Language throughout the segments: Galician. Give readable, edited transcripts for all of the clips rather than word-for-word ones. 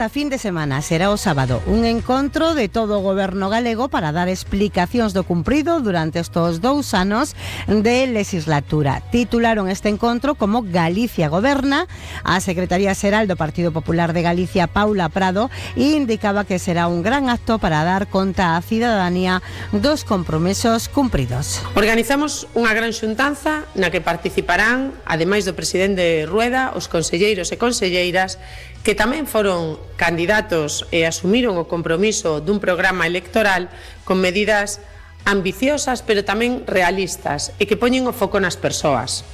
A fin de semana será o sábado un encontro de todo o goberno galego para dar explicacións do cumprido durante estes 2 anos de legislatura. Titularon este encontro como Galicia Goberna. A Secretaría Xeral do Partido Popular de Galicia, Paula Prado, indicaba que será un gran acto para dar conta á cidadanía dos compromisos cumpridos. Organizamos unha gran xuntanza na que participarán, ademais do presidente Rueda, os conselleiros e conselleiras que tamén foron candidatos e asumiron o compromiso dun programa electoral con medidas ambiciosas pero tamén realistas e que poñen o foco nas persoas.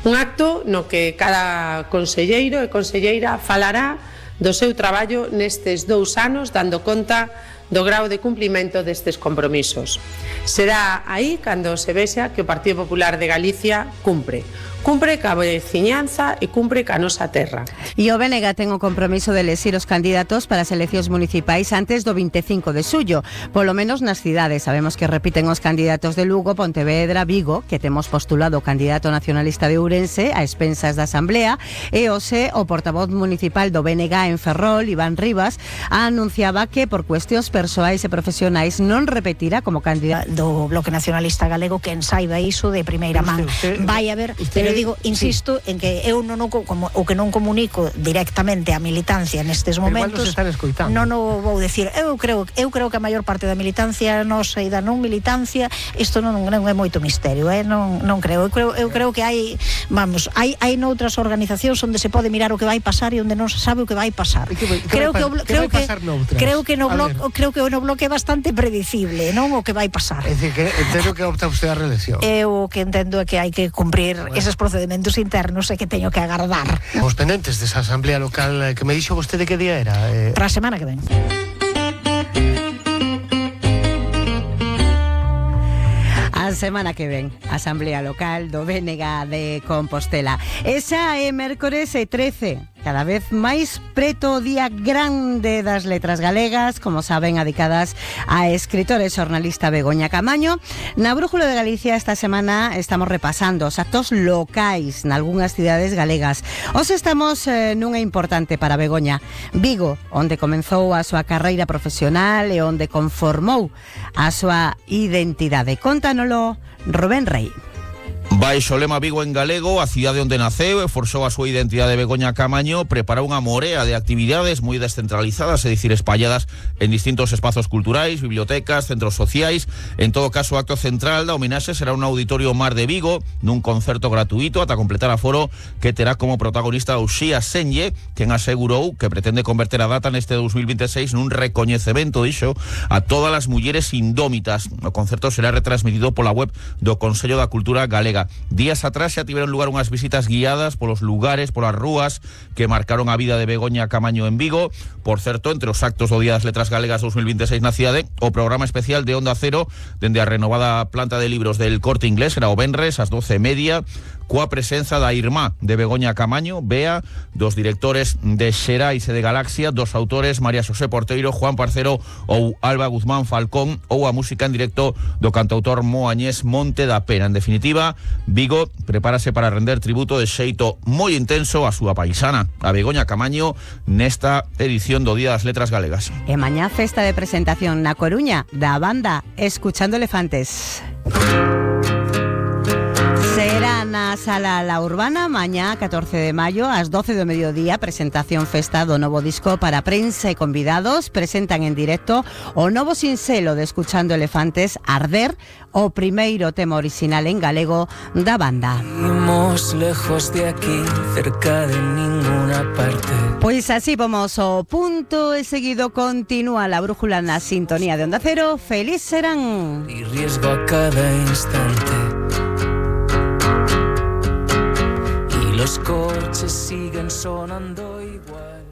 Un acto no que cada conselleiro e conselleira falará do seu traballo nestes 2 anos dando conta do grau de cumprimento destes compromisos. Será aí cando se vexa que o Partido Popular de Galicia cumpre ca veciñanza e cumpre ca nosa terra. E o BNG ten o compromiso de elexir os candidatos para as eleccións municipais antes do 25 de xullo, polo menos nas cidades. Sabemos que repiten os candidatos de Lugo, Pontevedra, Vigo, que temos postulado o candidato nacionalista de Ourense a expensas da Asamblea, e hoxe o portavoz municipal do BNG en Ferrol, Iván Rivas, anunciaba que por cuestións persoais e profesionais non repetirá como candidato do Bloque Nacionalista Galego, que ensaiba iso de primeira man. Vai haber, pero digo, insisto en que eu non como o que non comunico directamente a militancia nestes momentos. Non o vou decir. Eu creo que a maior parte da militancia nosa e da non militancia, isto non é moito misterio, non creo. Eu creo que hai noutras organizacións onde se pode mirar o que vai pasar e onde non se sabe o que vai pasar. Creo que no Bloque é bastante predecible, non o que vai pasar. É dicir, que entendo que opta usted a reelección. Eu que entendo é que hai que cumprir eses procedementos internos e que teño que agardar. Os pendentes desa asamblea local que me dixo vostede que día era? Para a semana que ven. A semana que ven, Asamblea Local do BNG de Compostela. Esa é mércores 13. Cada vez máis preto o día grande das letras galegas, como saben, adicadas a escritora e xornalista Begoña Camaño. Na Brújula de Galicia esta semana estamos repasando os actos locais nalgúnas cidades galegas. Hoxe estamos nunha importante para Begoña, Vigo, onde comenzou a súa carreira profesional e onde conformou a súa identidade. Contánoslo Rubén Rey. Baixo o lema Vigo en galego, a cidade onde naceu e forxou a súa identidade Begoña Camaño, preparou unha morea de actividades moi descentralizadas, é dicir, espalladas en distintos espazos culturais, bibliotecas, centros sociais. En todo caso, o acto central da homenaxe será un auditorio Mar de Vigo, nun concerto gratuito ata completar aforo, que terá como protagonista Uxía Senlle, quen asegurou que pretende converter a data neste 2026 nun recoñecemento, dixo, a todas as mulleres indómitas. O concerto será retransmitido pola web do Consello da Cultura Galega. Días atrás xa tiveron lugar unhas visitas guiadas polos lugares, polas rúas que marcaron a vida de Begoña Camaño en Vigo. Por certo, entre os actos do Día das Letras Galegas 2026 na cidade, o programa especial de Onda Cero dende a renovada planta de libros del Corte Inglés era o venres ás 12:30, coa presenza da irmá de Begoña Camaño, Bea, dos directores de Xerais e de Galaxia, dos autores María Xosé Porteiro, Juan Parcero ou Alba Guzmán Falcón, ou a música en directo do cantautor moañés Monte da Pena. En definitiva, Vigo prepárase para render tributo de xeito moi intenso a súa paisana, a Begoña Camaño, nesta edición do Día das Letras Galegas. E mañá festa de presentación na Coruña da banda Escuchando Elefantes. Será na Sala La Urbana mañá 14 de maio ás 12 do mediodía, presentación festa do novo disco para prensa e convidados. Presentan en directo o novo sinxelo de Escuchando Elefantes, Arder, o primeiro tema orixinal en galego da banda. Vivimos lejos de aquí, cerca de ninguna parte. Pois así vamos ao punto e seguido continúa la brújula na sintonía de Onda Cero. Feliz serán. Y riesgo a cada instante. Los coches siguen sonando igual.